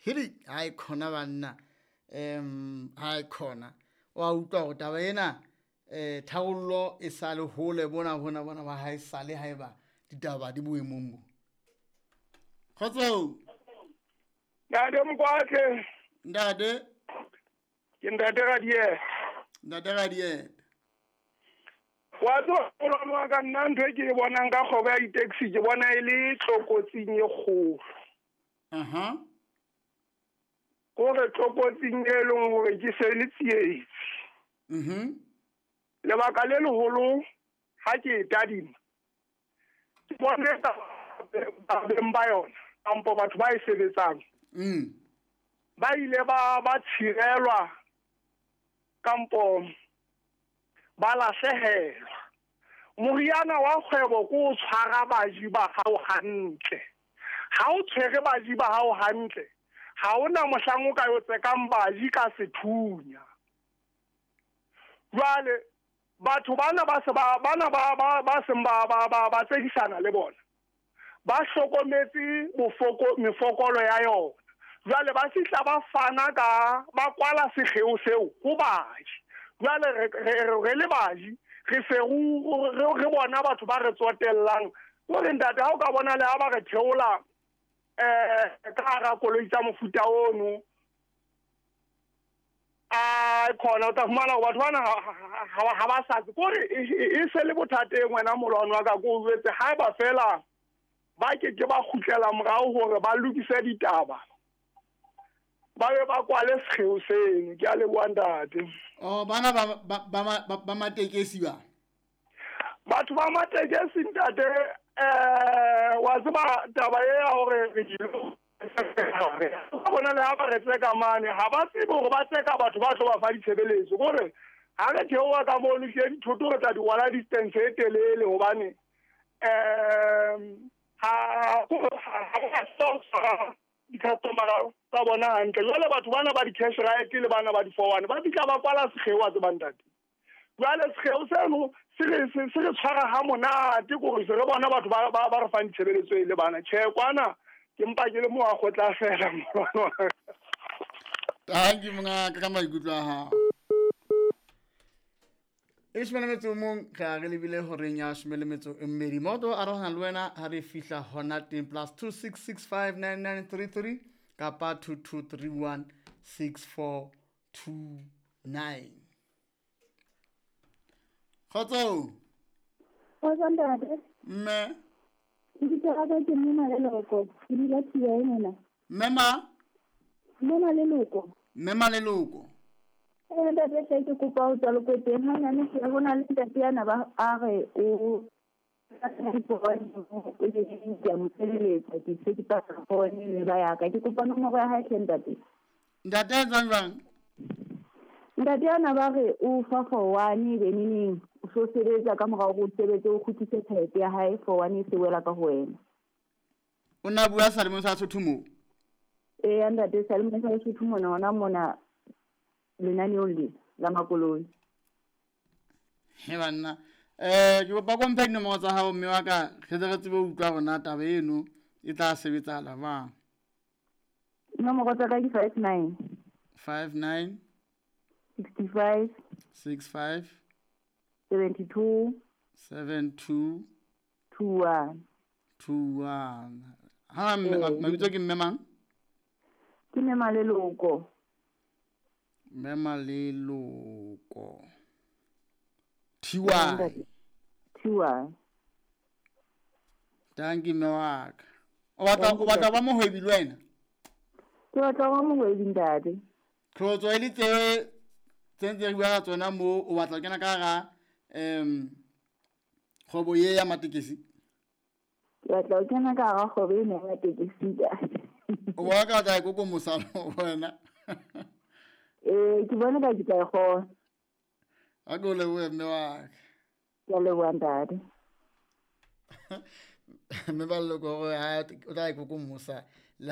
Hidi ha e khona banna, ha e khona wa utlwa hore taba ena tharollo e sale hole bona bona bona ba ha e sale haeba ditaba di boemong bo. Kgotso. Ntate Mokwatle. Ntate. Ke Ntate Radieta. Ntate Radieta. Wa tseba molwane wa ka, nna ntho e ke e bonang ka kgwebo ya di-taxi ke bona e le tlokotsing e kgolo. Kore tlokotsing e leng hore ke se le tsietsi. Lebaka le leholo ha ke e tadima, ke bone beng ba yona kampo batho ba e sebetsang. Ba ile ba tshirelwa kampo ba lahlehelwa. Moriana wa kgwebo ke o tshwara baji ba hao hantle. Ha o tshwere baji ba hao hantle, ha hona mohlang o ka yo tsekang baji ka sethunya. Jwale batho bana ba se ba bana ba ba ba seng ba ba ba ba tsekisana le bona, ba hlokometse bofoko mefokolo ya yona. Jwale ba fihla ba fana ka ba kwala sekgeo seo ho baji. Jwale re le baji re se re bona batho ba re tsotellang. Hore ntate ha o ka bona le ha ba re theola ka hara koloi tsa mofuta ono, a khona o tla fumana hore batho bana ha ba sa tsebe. Kore e se le bothateng wena molwane wa ka, ko o jwetse haeba fela ba ke ke ba kgutlela morao hore ba lokise ditaba, ba be ba kwale sekgeo seno. Ke a leboha ntate. Oh, bana ba matekesi ba? Batho ba matekesi ntate, wa tseba taba e ya hore re ba bona le ha ba re tseka mane, ha ba tsebe hore ba tseka batho ba tlo ba fa ditshebeletso. Kore ha re theoha ka mono ke dithoto re tla di rwala distance e telele hobane ha di-customer tsa bona hantle. Jwale batho bana ba di-cash right le bana ba di-4-1 ba fihla ba kwala sekgeo wa tseba ntate. Jwale sekgeo seno se re tshwara ha monate, kore se re bona batho ba re fang ditshebeletso e le bana. Tjhe, kwana ke mpa ke le mo a kgotla fela molwane wa ka. Thank you mongaka ka maikutlo a hao. E shome le metso o mong, re a re lebile horeng ya shome le metso e mmedi. Moto arohana le wena ha re fihla hona teng, plus 26659933 kapa 22316429. Kgotso. Kgotso ntate. Mme. Lebitso la ka ke Mme Maleloko, ke dula Thibae mona. Mme ma? Mme Maleloko. Mme Maleloko. Ntate hle ke kopa ho tswa Lokweteng hanyane hle, ho na le ntate yana ba a re o ke a mo sebeletsa, ke se ke patala phone le ba ya ka. Ke kopa nomoro ya hae hle ntate. Ntate a etsang jwang? Ntate yana ba re o fa 4-1 be neneng, o so sebetsa ka mora hore o sebetse o kgutlise tjhelete ya hae, 4-1 e se wela ka ho wena. O na bua Salemong sa Sotho moo? Eya ntate, Salemong sa Sotho mona, hona mona lenaneong le la makoloi. He banna, ke kopa ko mphe dinomoro tsa hao mme wa ka, re tle re tsebe ho utlwa hore na taba eno e tla sebetsahala jwang. Nomoro tsa ka ke 59. 59. 65. 65. 72. 72. 21. 21. Ha mabitso ke mme mang? Ke Mme Maleloko. Mme Maleloko. TY. TY. Thank you mme wa ka. O batla ba mohwebi le wena? Ke batla ba mohwebi ntate. Tlotso e le tse ntse re bua ka tsona moo, o batla ho kena ka hara kgwebo ye ya matekesi? Ke batla ho kena ka hara kgwebo ena ya matekesi ntate. O bona ka tla e kokomosa wena? Ke bona ka ke tla e kgona. A ke o lebohe mme wa ka. Ke a leboha ntate. Mme ba leloko hore ha o tla e kokomosa.